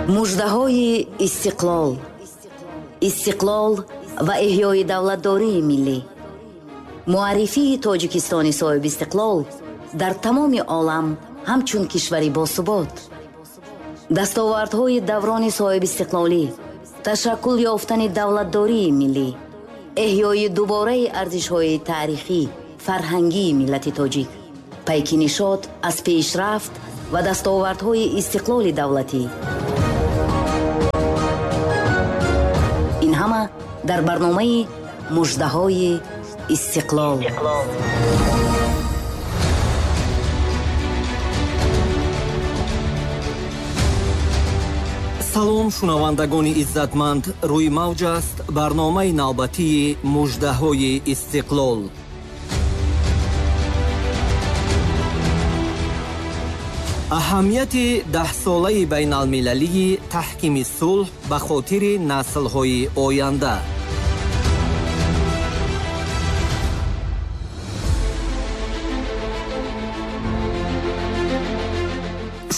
Муждаҳои истиқлол, истиқлол ва эҳёи давлатдории миллӣ, муаррифии Тоҷикистони соҳибистиқлол дар тамоми олам ҳамчун кишвари босубот, дастовардҳои даврони соҳибистиқлолӣ, ташаккул ёфтани давлатдории миллӣ, эҳёи дубораи арзишҳои таърихӣ, фарҳангии миллати тоҷик, пайки нишот аз пешрафт ва дастовардҳои истиқлоли давлатӣ. Ин ҳама дар барномаи Муждаҳои истиқлол. Салом, шунавандагони иззатманд, рӯи мавҷ аст барномаи навбатии Муждаҳои истиқлол. Аҳамияти даҳсолаи байналмилалии таҳкими сулҳ ба хотири наслҳои оянда.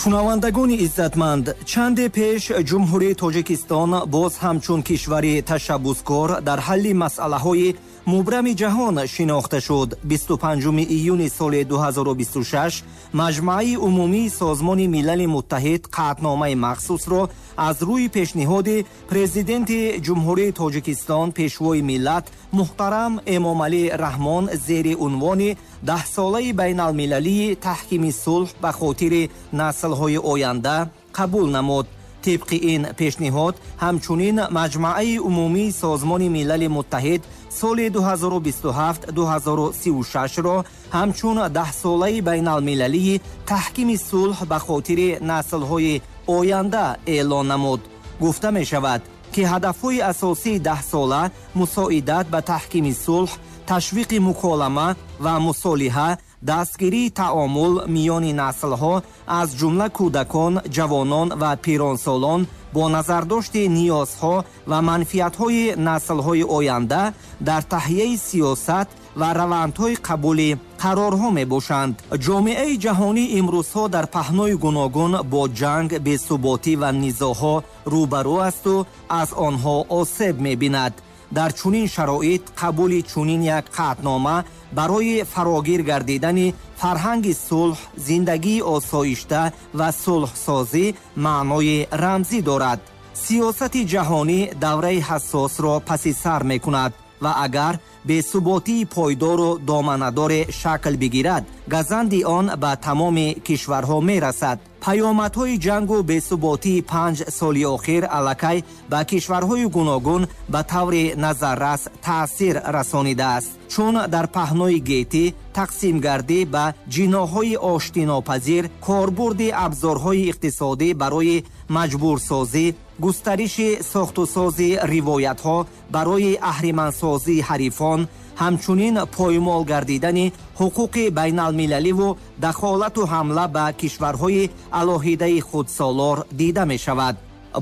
Шунавандагони иззатманд, чанде пеш Ҷумҳурии Тоҷикистон боз ҳамчун кишвари ташаббускор дар ҳалли масъалаҳои мубрами ҷаҳон шинохта шуд. 25 июни соли 2026 Маҷмааи умумии Созмони Милали Муттаҳид қатъномаи махсусро аз рӯи пешниҳоди Президенти Ҷумҳурии Тоҷикистон, Пешвои миллат муҳтарам Эмомалӣ Раҳмон зери унвони даҳсолаи байналмилалии таҳкими сулҳ ба хотири наслҳои оянда қабул намуд. Тибқи ин пешниҳод, ҳамчунин Маҷмааи умумии Созмони Милали Муттаҳид соли 2027-2036-ро ҳамчун даҳсолаи байналмилалии таҳкими сулҳ ба хотири наслҳои оянда эълон намуд. Гуфта мешавад, ки ҳадафҳои асосии даҳсола мусоидат ба таҳкими сулҳ, ташвиқи муколама ва мусолиҳа, дастгирии таомул миёни наслҳо, аз ҷумла кӯдакон, ҷавонон ва пиронсолон бо назардошти ниёзҳо ва манфиатҳои наслҳои оянда дар таҳияи сиёсат ва равандҳои қабули қарорҳо мебошанд. Ҷомеаи ҷаҳонӣ имрӯзҳо дар паҳнои гуногун бо ҷанг, бесуботӣ ва низоъҳо рӯбарӯ асту аз онҳо осеб мебинад. Дар чунин шароит қабули чунин як қатънома барои фарогир гардидани фарҳанги сулҳ, зиндагии осоишта ва сулҳсозӣ маънои рамзӣ дорад. Сиёсати ҷаҳонӣ давраи ҳассосро паси сар мекунад ва агар бесуботии пойдору доманадоре шакл бигирад, газанди он ба тамоми кишварҳо мерасад. Паёмадҳои ҷангу бесуботии 5 соли охир аллакай ба кишварҳои гуногун ба таври назаррас таъсир расонидааст, чун дар паҳнои гетӣ тақсимгардӣ ба ҷиноҳҳои оштинопазир, корбурди абзорҳои иқтисодӣ барои маҷбурсозӣ, густариши сохтусози ривоятҳо барои аҳримансозии ҳарифон, ҳамчунин поймол гардидани ҳуқуқи байналмилаливу дахолату ҳамла ба кишварҳои алоҳидаи худсолор дида мешавад.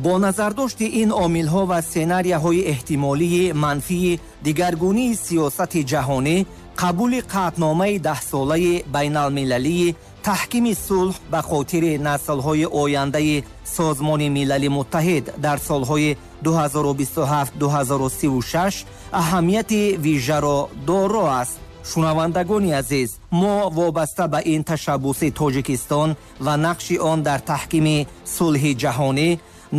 Бо назардошти ин омилҳо ва сценарияҳои эҳтимолии манфии дигаргунии сиёсати ҷаҳонӣ, қабули қатъномаи даҳсолаи байналмилалии таҳкими сулҳ ба хотири наслҳои ояндаи Созмони Милали Муттаҳид дар солҳои 2027-2036 аҳамияти вижаро доро аст. Шунавандагони азиз, мо вобаста ба ин ташаббуси Тоҷикистон ва нақши он дар таҳкими сулҳи ҷаҳонӣ,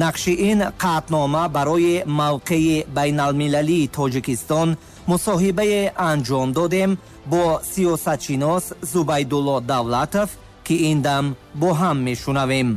нақши ин қатънома барои мавқеи байналмилалии Тоҷикистон мусоҳибае анҷом додем бо сиёсатшинос Зубайдулло Давлатов, ки ин дам бо ҳам мешунавем.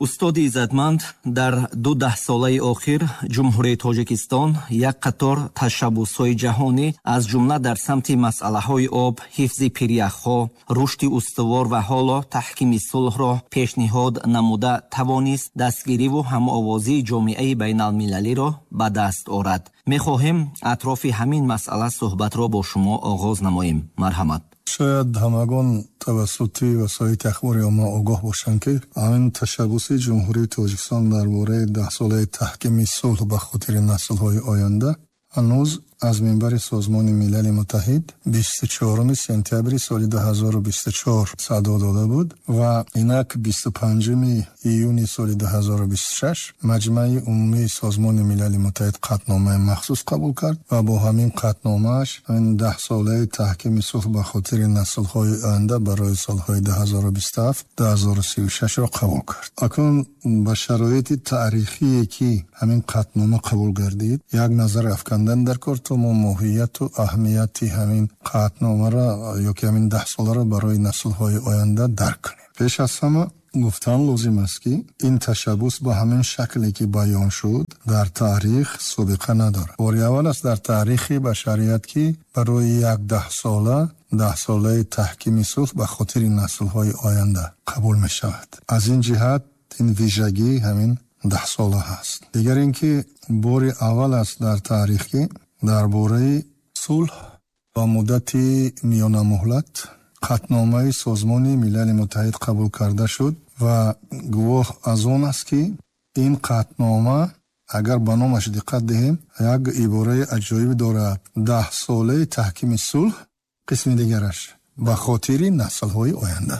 Устоди иззатманд, дар ду даҳсолаи охир Ҷумҳурии Тоҷикистон як қатор ташаббусҳои ҷаҳонӣ, аз ҷумла дар самти масъалаҳои об, ҳифзи пиряхҳо, рушди устувор ва ҳоло таҳкими сулҳро пешниҳод намуда тавонист дастгириву ҳамовозии ҷомеаи байналмилалиро ба даст орад. Мехоҳем атрофи ҳамин масъала суҳбатро бо шумо оғоз намоем. Марҳамат. Шояд ҳамагон тавассути васоити ахбори омма огоҳ бошанд, ки ҳамин ташаббуси Ҷумҳурии Тоҷикистон дар бораи даҳсолаи таҳкими сулҳ ба хотири наслҳои оянда ҳанӯз Аз минбари Созмони Милали Муттаҳид 24 сентябри соли 2024 садо дода буд ва инак 25 июни соли 2026 Маҷмаи Умумии Созмони Милали Муттаҳид қатъномаи махсус қабул кард ва бо ҳамин қатъномааш ҳамин 10-солаи таҳкими сулҳ ба хотири наслҳои оянда барои солҳои 2027-2036-ро қабул кард. Акнун ба шароити таърихие ки ҳамин қатънома қабул гардид, як назар афкандан дар кор, то мо моҳияту аҳамияти ҳамин қатъномаро ё ки ҳамин 10-соларо барои наслҳои оянда дарк кунем. Пеш аз ҳама гуфтан лозим аст, ки ин ташаббус ба ҳамин шакле ки баён шуд, дар таърих собиқа надорад. Бори аввал аст дар таърихи башарият, ки барои як 10-сола, 10-солаи таҳкими сулҳ ба хотири наслҳои оянда қабул мешавад. Аз ин ҷиҳат ин вижагӣ ҳамин 10-сола ҳаст. Дигар ин ки бори аввал аст дар таърих, ки дар бораи сулҳ ба муддати миёнамуҳлат қатъномаи Созмони Милали Муттаҳид қабул карда шуд ва гувоҳ аз он аст, ки ин қатънома, агар ба номаш диққат диҳем, як ибораи аҷоиб дорад: 10-солаи таҳкими сулҳ, қисми дигараш ба хотири наслҳои оянда.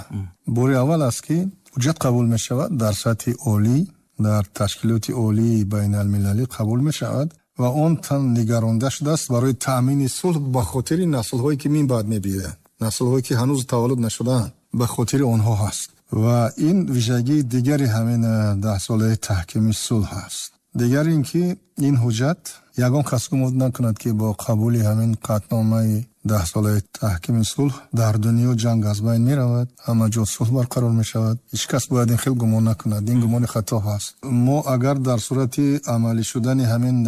Бори аввал аст, ки ҳуҷҷат қабул мешавад дар сатҳи олӣ, дар ташкилоти олии байналмилалӣ қабул мешавад ва он нигаронда шудааст барои таъмини сулҳ ба хотири наслҳое ки мин баъд мебиёянд, наслҳое ки ҳанӯз таваллуд нашудаанд, ба хотири онҳо ҳаст. Ва ин вижагии дигари ҳамин 10-солаи таҳкими сулҳ аст. Дигар ин ки ин ҳуҷҷат, ягон кас гумон накунад, ки бо қабули ҳамин қатъномаи 10-солаи таҳкими сулҳ дар дунё ҷанг аз байн меравад, ҳама ҷо сулҳ барқарор мешавад. Ҳеҷ кас бояд ин хел гумон накунад, ин гумони хато ҳаст. Мо агар дар сурати амалӣ шудани ҳамин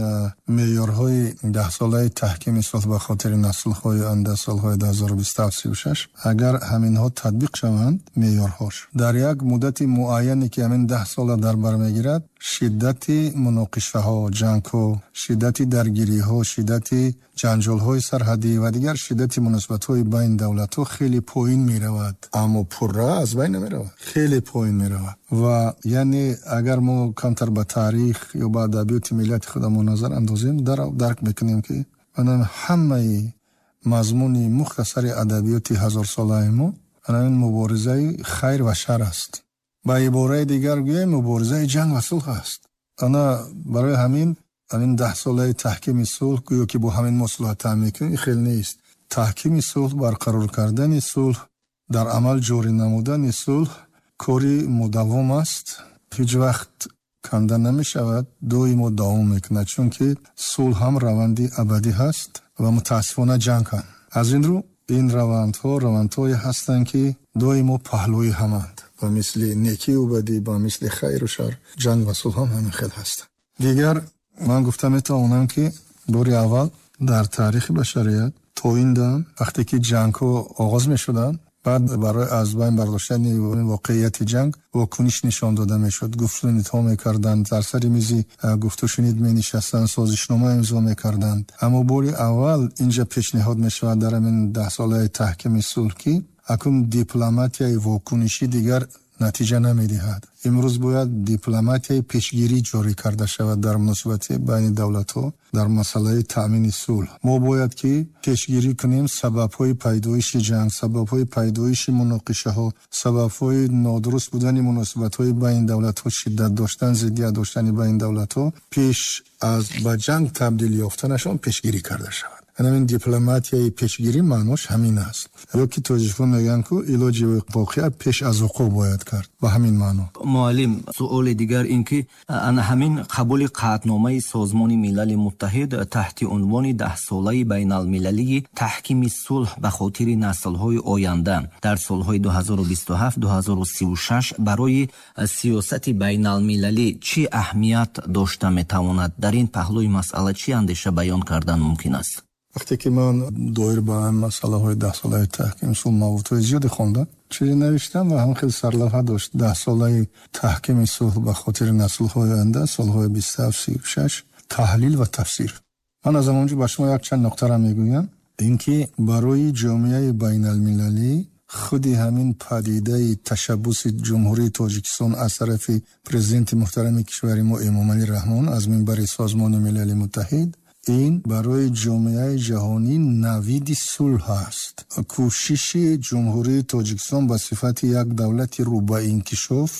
меъёрҳои 10-солаи таҳкими сулҳ ба хотири наслҳои оянда солҳои 2027-36, агар ҳаминҳо татбиқ шаванд, меъёрҳош дар як муддати муайяне, ки ҳамин 10 сола дар бар мегирад, шиддати муноқишаҳо, ҷангҳо, шиддати даргириҳо, шиддати ҷанҷолҳои сарҳадӣ ва дигар шиддати муносибатҳои байни давлатҳо хеле поин меравад, аммо пурра аз байн намеравад, хеле поин меравад. Ва яъне агар мо камтар ба таърих ё ба адабиёти миллати худамон назар андозем, дарк мекунем, ки ҳамаи мазмуни мухтасари адабиёти ҳазорсолаи мо ин муборизаи хайр ва шар аст. Ба ибораи дигар гӯем, муборизаи ҷанг ва сулҳ аст. Ана барои ҳамин 10-солаи таҳкими сулҳ, гӯё ки бо ҳамин мо сулҳ таъмин мекунем, ин хел нест. Таҳкими сулҳ, барқарор кардани сулҳ, дар амал ҷорӣ намудани сулҳ кори мудавом аст, ҳеҷ вақт канда намешавад, доимо давом мекунад, чунки сулҳ ҳам раванди абадӣ ҳаст ва мутаассифона ҷанг ҳам. Аз ин рӯ ин равандҳо равандҳое ҳастанд, ки доимо паҳлӯи ҳаманд. Ба мисли некию бадӣ, ба мисли хайру шар, ҷанг ва сулҳ ҳам ҳамин хел ҳастанд. Дигар ман гуфта метавонам, ки бори аввал дар таърихи башарият то ин дам, вақте ки ҷангҳо оғоз мешуданд, баъд барои аз байн бардоштани воқеияти ҷанг вокуниш нишон дода мешуд, гуфтушунидҳо мекарданд, дар сари мизи гуфтушунид менишастанд, созишнома имзо мекарданд. Аммо бори аввал инҷа пешниҳод мешавад дар ҳамин 10-солаи таҳкими сулҳ, ки акнун дипломатияи вокунишӣ дигар натиҷа намедиҳад. Имрӯз бояд дипломатияи пешгирӣ ҷорӣ карда шавад дар муносибати байни давлатҳо дар масъалаи таъмини сулҳ. Мо бояд ки пешгирӣ кунем сабабҳои пайдоиши ҷанг, сабабҳои пайдоиши муноқишаҳо, сабабҳои нодуруст будани муносибатҳои байни давлатҳо, шиддат доштан, зиддият доштани байни давлатҳо, пеш аз ба ҷанг табдил ёфтанашон пешгирӣ карда шавад. Ҳамин дипломатияи пешгирӣ маънош ҳамин аст. Ё ки тоҷикон мегӯянд, ку илоҷи воқеа пеш аз вуқӯъ бояд кард, ба ҳамин маъно. Муаллим, суоли дигар ин ки ана ҳамин қабули қатъномаи Созмони Милали Муттаҳид таҳти унвони 10-солаи байналмилалии таҳкими сулҳ ба хотири наслҳои оянда дар солҳои 2027-2036 барои сиёсати байналмилалӣ чӣ аҳамият дошта метавонад? Дар ин паҳлӯи масъала чӣ андеша баён кардан мумкин аст? Вақте ки ман доир ба масъалаҳои 10-солаи таҳкими сулҳ маводҳои зиёде хондам, чизе навиштам ва ҳам хел сарлавҳа дошт: 10-солаи таҳкими сулҳ ба хотири наслҳои оянда, солҳои 27-36, таҳлил ва тафсир. Ман аз ҳамонҷо ба шумо якчанд нуқтаро мегӯям. Ин ки барои ҷомеаи байналмилалӣ худи ҳамин падидаи ташаббуси Ҷумҳурии Тоҷикистон аз тарафи президенти муҳтарами кишвари мо Эмомалӣ Раҳмон аз минбари Созмони Милали Муттаҳид, Ин барои ҷомеаи ҷаҳонӣ навиди сулҳ аст. Кӯшиши Ҷумҳурии Тоҷикистон ба сифати як давлати рӯ ба инкишоф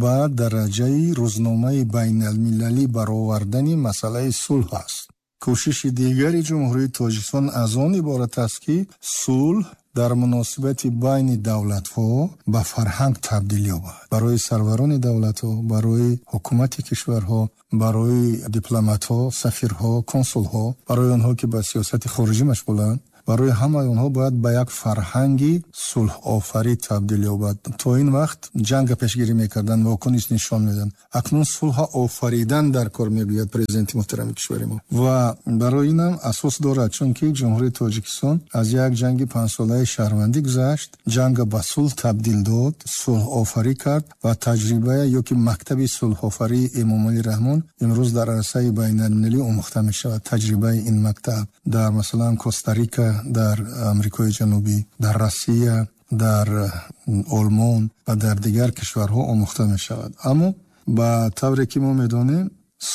ба дараҷаи рӯзномаи байналмилалӣ баровардани масъалаи сулҳ аст. Кӯшиши дигари Ҷумҳурии Тоҷикистон аз он иборат аст, ки сулҳ дар муносибати байни давлатҳо ба фарҳанг табдил ёбад. Барои сарварони давлатҳо, барои ҳукумати кишварҳо, барои дипломатҳо, сафирҳо, консулҳо, барои онҳо ки ба сиёсати хориҷӣ машғуланд, барои ҳамаи онҳо бояд ба як фарҳанги сулҳофарӣ табдил ёбад. То ин вақт ҷанга пешгирӣ мекарданд, вокуниш нишон медоданд. Акнун сулҳа офаридан дар кор, мегӯяд президенти муҳтарами кишвари мо. Ва барои инам асос дорад, чунки Ҷумҳурии Тоҷикистон аз як ҷанги панҷсолаи шаҳрвандӣ гузашт, ҷанга ба сулҳ табдил дод, сулҳофарӣ кард ва таҷриба ё ки мактаби сулҳофарии Эмомалӣ Раҳмон имрӯз дар арсаи байналмилалӣ омӯхта мешавад. Таҷрибаи ин мактаб дар, масалан, Коста-Рика, дар Амрикои Ҷанубӣ, дар Россия, дар Олмон ва дар дигар кишварҳо омӯхта мешавад. Аммо ба тавре ки мо медонем,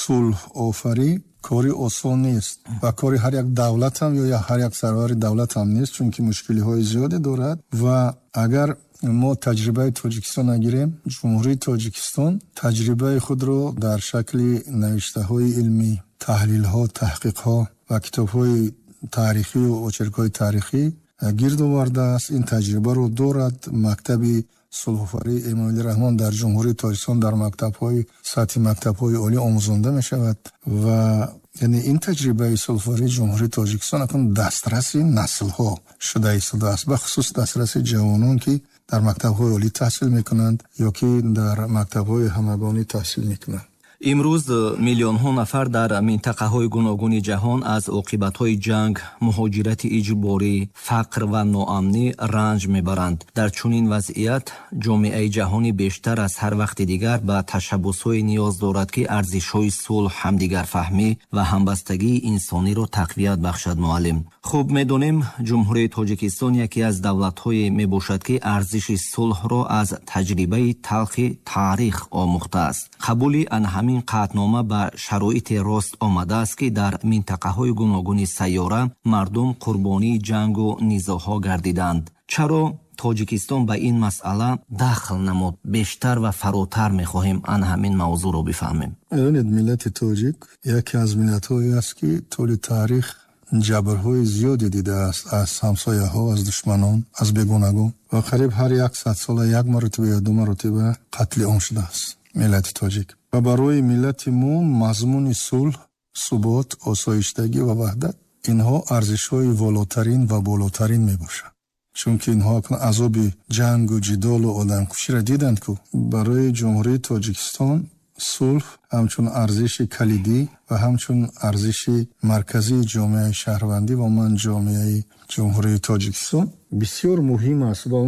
сулҳофарӣ кори осон нест ва кори ҳар як давлат ҳам ё ҳар як сарвари давлат ҳам нест, чунки мушкилиҳои зиёде дорад. Ва агар мо таҷрибаи Тоҷикистон нагирем, Ҷумҳурии Тоҷикистон таҷрибаи худро дар шакли навиштаҳои илмӣ, таҳлилҳо, таҳқиқҳо ва китобҳои таърихию очеркҳои таърихӣ гирд овардааст. Ин таҷрибаро дорад. Мактаби сулҳофарии Эмомалӣ Раҳмон дар Ҷумҳурии Тоҷикистон дар мактабҳои сатҳи мактабҳои олӣ омӯзонда мешавад ва яъне ин таҷрибаи сулҳофарии Ҷумҳурии Тоҷикистон акнун дастраси наслҳо шуда истодааст, бахусус дастраси ҷавонон, ки дар мактабҳои олӣ таҳсил мекунанд ё ки дар мактабҳои ҳамагонӣ таҳсил мекунанд. Имрӯз миллионҳо нафар дар минтақаҳои гуногуни ҷаҳон аз оқибатҳои ҷанг, муҳоҷирати иҷборӣ, фақр ва ноамнӣ ранҷ мебаранд. Дар чунин вазъият ҷомеаи ҷаҳонӣ бештар аз ҳар вақти дигар ба ташаббусҳое ниёз дорад, ки арзишҳои сулҳ, ҳамдигарфаҳмӣ ва ҳамбастагии инсониро тақвият бахшад. Муаллим, хуб медонем, Ҷумҳурии Тоҷикистон яке аз давлатҳое мебошад, ки арзиши сулҳро аз таҷрибаи талхи таърих омӯхтааст. Қабули ан ҳамин қатънома ба шароите рост омадааст, ки дар минтақаҳои гуногуни сайёра мардум қурбонии ҷангу низоъҳо гардиданд. Чаро Тоҷикистон ба ин масъала дахл намуд? Бештар ва фаротар мехоҳем ан ҳамин мавзӯъро бифаҳмем. Медонед, миллати тоҷик яке аз миллатҳое аст, ки тӯли таърих ҷабрҳои зиёде дидааст аз ҳамсояҳо, аз душманон, аз бегонагон ва қариб ҳар 100 сола як маротиба ё ду маротиба қатли ом шудааст миллати тоҷик. Ва барои миллати мо мазмуни сулҳ, субот, осоиштагӣ ва ваҳдат инҳо арзишҳои волотарин ва болотарин мебошанд. Чунки инҳо акнун азоби ҷангу ҷидолу одамкуширо диданд, ку барои Ҷумҳурии Тоҷикистон сулҳ ҳамчун арзиши калидӣ ва ҳамчун арзиши марказии ҷомеаи шаҳрвандӣ ва ман ҷомеаи Ҷумҳурии Тоҷикистон бисёр муҳим аст. Ва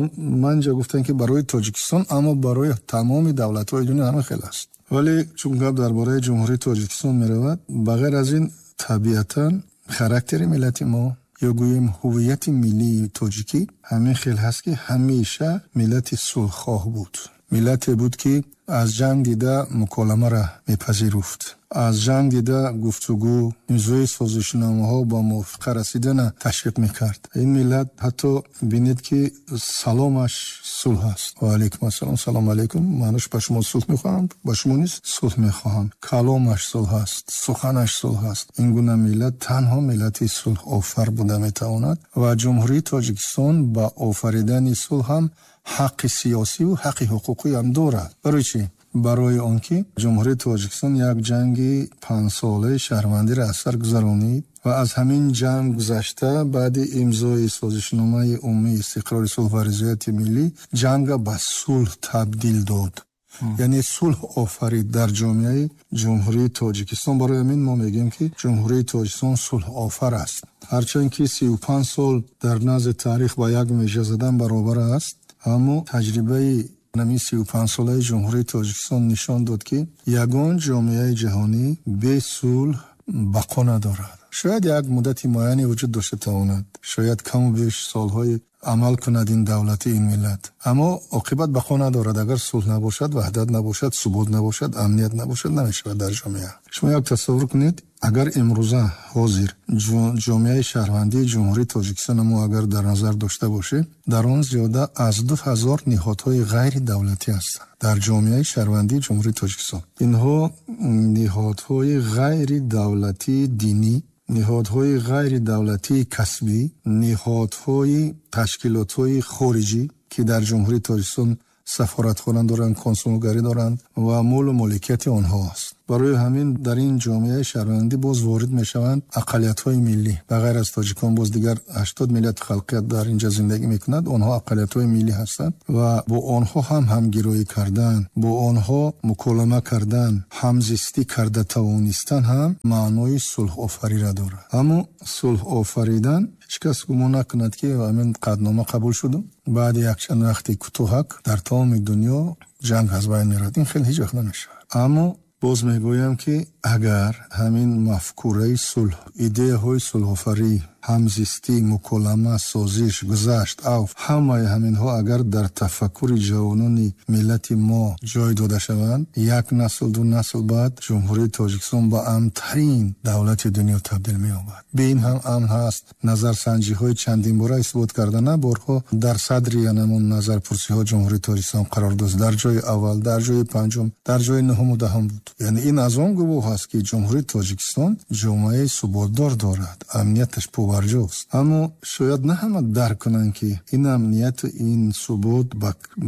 ман ҷа гуфтам, ки барои Тоҷикистон, аммо барои тамоми давлатҳои дунё ҳама хел аст. Вале чун гап дар бораи Ҷумҳурии Тоҷикистон меравад, ба ғайр аз ин табиатан характери миллати мо ё гӯем ҳуввияти миллии тоҷикӣ ҳамин хел ҳаст, ки ҳамеша миллати сулҳхоҳ буд. Миллате буд, ки аз ҷанг дида муколамаро мепазируфт, аз ҷанг дида гуфтугӯ, имзои созишномаҳо ба мувофиқа расидана ташвиқ мекард. Ин миллат ҳатто бинед, ки саломаш сулҳ аст. Ва алайкум ассалом, салом алайкум, маънош ба шумо сулҳ мехоҳам, ба шумо низ сулҳ мехоҳам. Каломаш сулҳ аст, суханаш сулҳ аст. Ин гуна миллат танҳо миллати сулҳофар буда метавонад ва Ҷумҳурии Тоҷикистон ба офаридани сулҳ ҳам ҳаққи сиёсиву ҳаққи ҳуқуқӣ ҳам дорад. Барои чӣ? Барои он ки Ҷумҳурии Тоҷикистон як ҷанги панҷсолаи шаҳрвандиро аз сар гузаронид ва аз ҳамин ҷанг гузашта, баъди имзои созишномаи умумии истиқрори сулҳ ва ризояти миллӣ ҷанга ба сулҳ табдил дод, яъне сулҳ офарид дар ҷомеаи Ҷумҳурии Тоҷикистон. Барои ҳамин мо мегӯем, ки Ҷумҳурии Тоҷикистон сулҳофар аст. Ҳарчанд ки 35 сол дар назди таърих ба як меҷа задан баробар аст, аммо таҷрибаи ҳамин 35-солаи Ҷумҳурии Тоҷикистон нишон дод, ки ягон ҷомеаи ҷаҳонӣ бе сулҳ бақо надорад. Шояд як муддати муайяне вуҷуд дошта тавонад, шояд каму беш солҳои Амал кунад ин давлати, ин миллат. Аммо оқибат бақо надорад. Агар сулҳ набошад, ваҳдат набошад, субот набошад, амният набошад, намешавад дар ҷомеа. Шумо як тасаввур кунед, агар имрӯза ҳозир ҷомеаи шаҳрвандии Ҷумҳурии Тоҷикистон мо агар дар назар дошта бошем, дар он зиёда аз 2000 ниҳодҳои ғайридавлатӣ ҳастанд дар ҷомеаи шаҳрвандии Ҷумҳурии Тоҷикистон. Инҳо ниҳодҳои ғайридавлатии динӣ, ниҳодҳои ғайридавлатии касбӣ, ниҳодҳои ташкилотҳои хориҷӣ, ки дар Ҷумҳурии Тоҷикистон сафоратхона доранд, консулгарӣ доранд ва молу моликияти онҳо аст. Барои ҳамин дар ин ҷомеаи шаҳрвандӣ боз ворид мешаванд ақаллиятҳои миллӣ. Ба ғайр аз тоҷикон боз дигар 80 миллият халқият дар инҷа зиндагӣ мекунад, онҳо ақаллиятҳои миллӣ ҳастанд ва бо онҳо ҳам ҳамгироӣ кардан, бо онҳо муколама кардан, ҳамзистӣ карда тавонистан ҳам маънои сулҳофариро дорад. Аммо сулҳофаридан ҳеҷ кас гумон накунад, ки ҳамин қатънома қабул шуду баъди якчанд вақти кӯтоҳак дар тамоми дунё ҷанг аз байн меравад. Ин хел ҳеҷ вақт намешавад. Аммо боз мегӯям, ки агар ҳамин мафкураи сулҳ, идеяҳои сулҳофарӣ, ҳамзистӣ, муколама, созиш, гузашт, авф, ҳамаи ҳаминҳо агар дар тафаккури ҷавонони миллати мо ҷой дода шаванд, як насл, ду насл баъд Ҷумҳурии Тоҷикистон ба амнтарин давлати дунё табдил меёбад. Бе ин ҳам амн ҳаст. Назарсанҷиҳои чандинбора исбот карда, на борҳо дар садри янамон назарпурсиҳо Ҷумҳурии Тоҷикистон қарор дошт. Дар ҷои аввал, дар ҷои панҷум, дар ҷои нуҳуму даҳум буд. Яъне ин аз он гувоҳ аст, ки Ҷумҳурии Тоҷикистон ҷомеаи суботдор дорад, амнияташ побарҷост. Аммо шояд на ҳама дарк кунанд, ки ин амнияту ин субот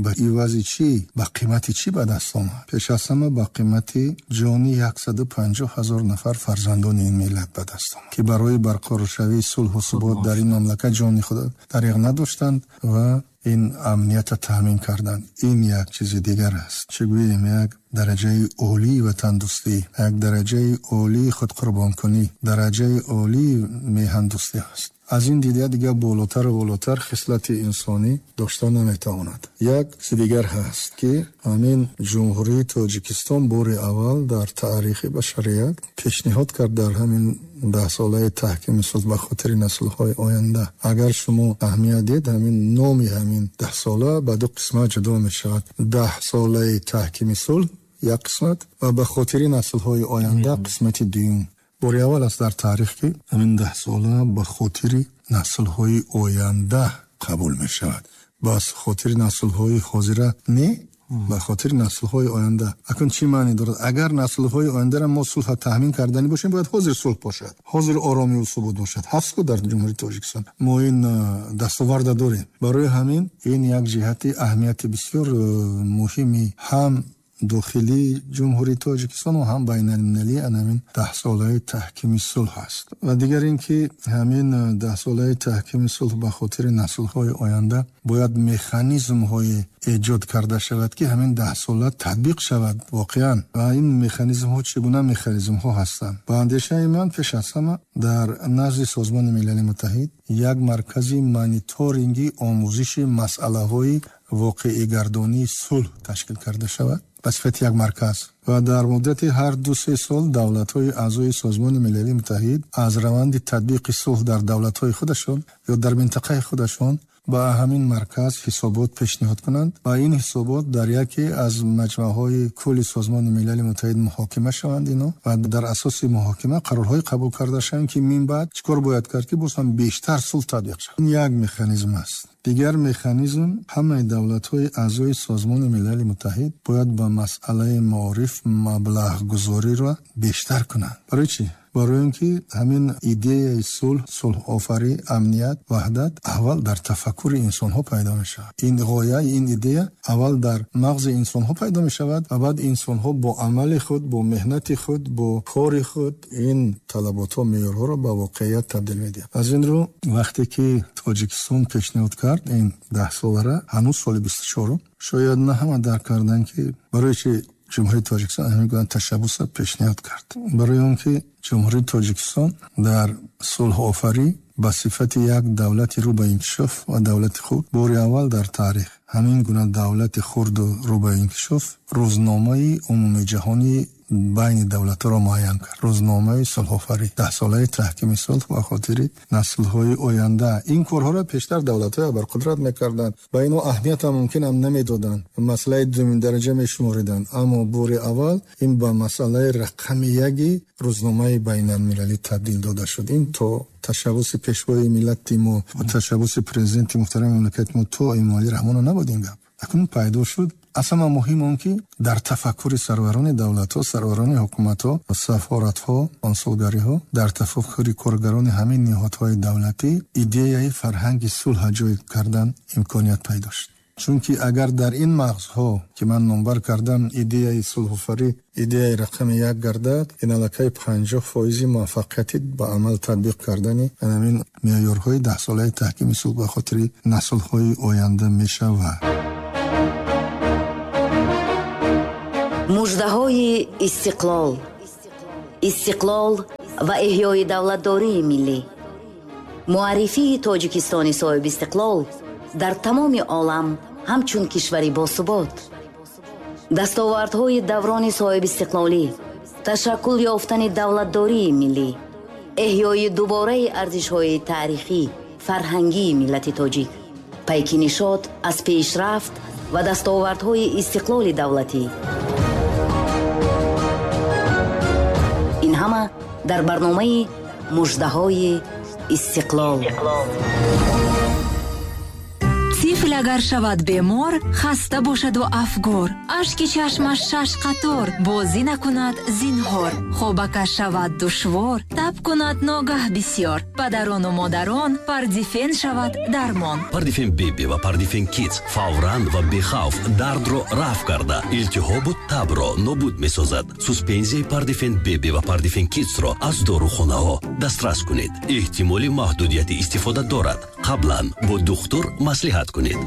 ба ивази чӣ, ба қимати чӣ ба даст омад. Пеш аз ҳама ба қимати ҷони 150 ҳазор нафар фарзандони ин миллат ба даст омад, ки барои барқароршавии сулҳу субот дар ин мамлакат ҷони худ дариғ надоштанд ва ин амниятро таъмин карданд. Ин як чизи дигар аст. Чӣ гӯем, як дараҷаи олии ватандӯстӣ, як дараҷаи олии худқурбонкунӣ, дараҷаи олии меҳандӯстӣ аст. Аз ин дида дигар болотару болотар хислати инсонӣ дошта наметавонад. Як чизи дигар ҳаст, ки ҳамин Ҷумҳурии Тоҷикистон бори аввал дар таърихи башарият пешниҳод кард дар ҳамин даҳсолаи таҳкими сулҳ ба хотири наслҳои оянда. Агар шумо аҳамият диҳед, ҳамин номи ҳамин даҳсола ба ду қисмат ҷудо мешавад. Даҳсолаи таҳкими сулҳ як қисмат ва ба хотири наслҳои оянда қисмати дуюм. Бори аввал аст дар таърих, ки ҳамин даҳсола ба хотири наслҳои оянда қабул мешавад. Ба хотири наслҳои ҳозира не, ба хотири наслҳои оянда. Акнун чӣ маъне дорад? Агар наслҳои ояндаро мо сулҳ таъмин карданӣ бошем, бояд ҳозир сулҳ бошад, ҳозир оромию субот бошад. Ҳаст ку дар Ҷумҳурии Тоҷикистон мо ин дастоварда дорем. Барои ҳамин ин як ҷиҳати аҳамияти бисёр муҳими ҳам дохилии Ҷумҳурии Тоҷикистон ва ҳам байналмилалии ҳамин даҳсолаи таҳкими сулҳ аст. Ва дигар ин ки ҳамин даҳсолаи таҳкими сулҳ ба хотири наслҳои оянда бояд механизмҳое эҷод карда шавад, ки ҳамин даҳсола татбиқ шавад воқеан. Ва ин механизмҳо чӣ гуна механизмҳо ҳастанд? Ба андешаи ман, пеш аз ҳама дар назди Созмони Милали Муттаҳид як маркази мониторинги омӯзиши масъалаҳои воқеигардонии сулҳ ташкил карда шавад ба сифати як марказ ва дар муддати ҳар 2-3 сол давлатҳои аъзои Созмони Милали Муттаҳид аз раванди татбиқи сулҳ дар давлатҳои худашон ё дар минтақаи худашон ба ҳамин марказ ҳисобот пешниҳод кунанд ва ин ҳисобот дар яке аз маҷмаъҳои кулли Созмони Милали Муттаҳид муҳокима шаванд ино ва дар асоси муҳокима қарорҳое қабул карда шаванд, ки мин баъд чӣ кор бояд кард, ки боз ҳам бештар сулҳ татбиқ шавад. Ин як механизм аст. Дигар механизм, ҳамаи давлатҳои аъзои Созмони Милали Муттаҳид бояд ба масъалаи маориф маблағгузориро бештар кунанд. Барои чӣ? Барои он ки ҳамин идеяи сулҳ, сулҳофарӣ, амният, ваҳдат аввал дар тафаккури инсонҳо пайдо мешавад. Ин ғоя, ин идея аввал дар мағзи инсонҳо пайдо мешавад ва баъд инсонҳо бо амали худ, бо меҳнати худ, бо кори худ ин талаботҳо, меъёрҳоро ба воқеият табдил медиҳанд. Аз ин рӯ вақте ки Тоҷикистон пешниҳод кард ин даҳсолара, ҳанӯз соли 24, шояд на ҳама дарк карданд, ки барои чи Ҷумҳурии Тоҷикистон ҳамин гуна ташаббусро пешниҳод кард. Барои он ки Ҷумҳурии Тоҷикистон дар сулҳофарӣ ба сифати як давлати рӯ ба инкишоф ва давлати хурд бори аввал дар таърих ҳамин гуна давлати хурду рӯ ба инкишоф рӯзномаи умумиҷаҳонии Байни давлатҳоро муайян кард. Рӯзномаи сулҳофарӣ, даҳсолаи таҳкими сулҳ ба хотири наслҳои оянда. Ин корҳоро пештар давлатҳои абарқудрат мекарданд ва инҳо аҳамиятам мумкин ҳам намедоданд, масъалаи дуюм дараҷа мешумориданд. Аммо бори аввал ин ба масъалаи рақами яки рӯзномаи байналмилалӣ табдил дода шуд. Ин то ташаббуси пешвои миллати мо ва ташаббуси президенти муҳтарами мамлакати мо то Эмомалӣ Раҳмонов набуд ин гап. Акнун пайдо шуд. Аз ҳама муҳим он ки дар тафаккури сарварони давлатҳо, сарварони ҳукуматҳо, сафоратҳо, консулгариҳо, дар тафаккури коргарони ҳамин ниҳодҳои давлатӣ идеяи фарҳанги сулҳ ҷой кардан имконият пайдо шуд. Чунки агар дар ин мағзҳо, ки ман номбар кардам, идеяи сулҳофарӣ идеяи рақами як гардад, ин аллакай 50% муваффақияти ба амал татбиқ кардани ҳамин меъёрҳои даҳсолаи таҳкими сулҳ ба хотири наслҳои оянда мешавад. Муждаҳои истиқлол, истиқлол ва эҳёи давлатдории миллӣ, муаррифии Тоҷикистони соҳибистиқлол дар тамоми олам ҳамчун кишвари босубот, дастовардҳои даврони соҳибистиқлолӣ, ташаккул ёфтани давлатдории миллӣ, эҳёи дубораи арзишҳои таърихӣ, фарҳангии миллати тоҷик, пайки нишот аз пешрафт ва дастовардҳои истиқлоли давлатӣ. Ин ҳама дар барномаи муждаҳои истиқлол. Тифл агар шавад бемор, хаста бошаду афгор, ашки чашмаш шаш қатор, бозӣ накунад зинҳор, хобакаш шавад душвор, таб кунад ногаҳ бисёр, падарону модарон Пардифен шавад дармон. Пардифен Беби ва Пардифен Кидс фавран ва бехавф дардро рафъ карда, илтиҳобу табро нобуд месозад. Суспензияи Пардифен Беби ва Пардифен Кидсро аз дорухонаҳо дастрас кунед. Эҳтимоли маҳдудияти истифода дорад. Қаблан бо духтур маслиҳат кунед.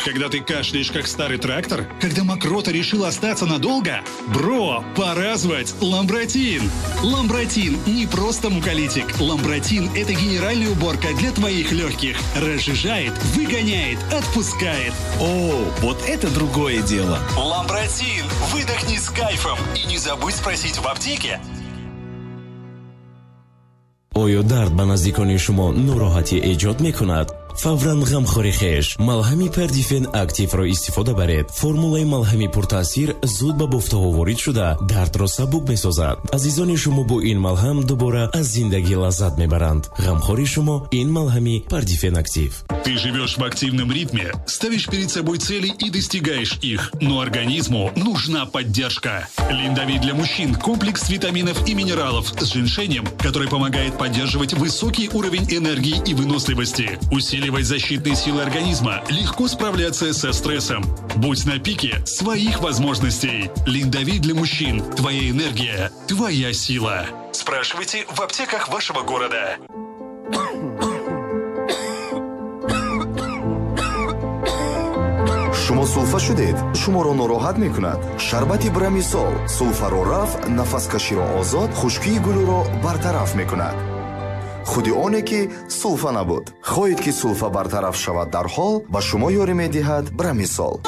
Когда ты кашляешь, как старый трактор? Когда мокрота решила остаться надолго? Бро, пора звать Ламбратин! Ламбратин не просто муколитик. Ламбратин – это генеральная уборка для твоих легких. Разжижает, выгоняет, отпускает. О, вот это другое дело! Ламбратин! Выдохни с кайфом! И не забудь спросить в аптеке. Оё дард ба наздикони шумо нороҳатӣ эҷод мекунад? Фавран ғамхори хеш малҳами Пардифен Активро истифода баред. Формулаи малҳами пуртаъсир зуд ба бофтаҳо ворид шуда, дардро сабук месозад. Азизони шумо бо ин малҳам дубора аз зиндагӣ лаззат мебаранд. Ғамхори шумо ин малҳами Пардифен Актив. Ты живешь в активном ритме, ставишь перед собой цели и достигаешь их, но организму нужна поддержка. Линдовит для мужчин – комплекс витаминов и минералов с женьшенем, который помогает поддерживать высокий уровень энергии и выносливости, усиливать защитные силы организма, легко справляться со стрессом. Будь на пике своих возможностей. Линдовит для мужчин. Твоя энергия, твоя сила. Спрашивайте в аптеках вашего города. Шумо сулфа шудед, шуморо нороҳат мекунад. Шарбати Брамисол сулфаро рафъ, нафаскаширо озод, хушкии гулӯро бартараф мекунад. Худи оне ки сулфа набуд. Хоҳед ки сулфа бартараф шавад дарҳол, ба шумо ёрӣ медиҳад Брамисол.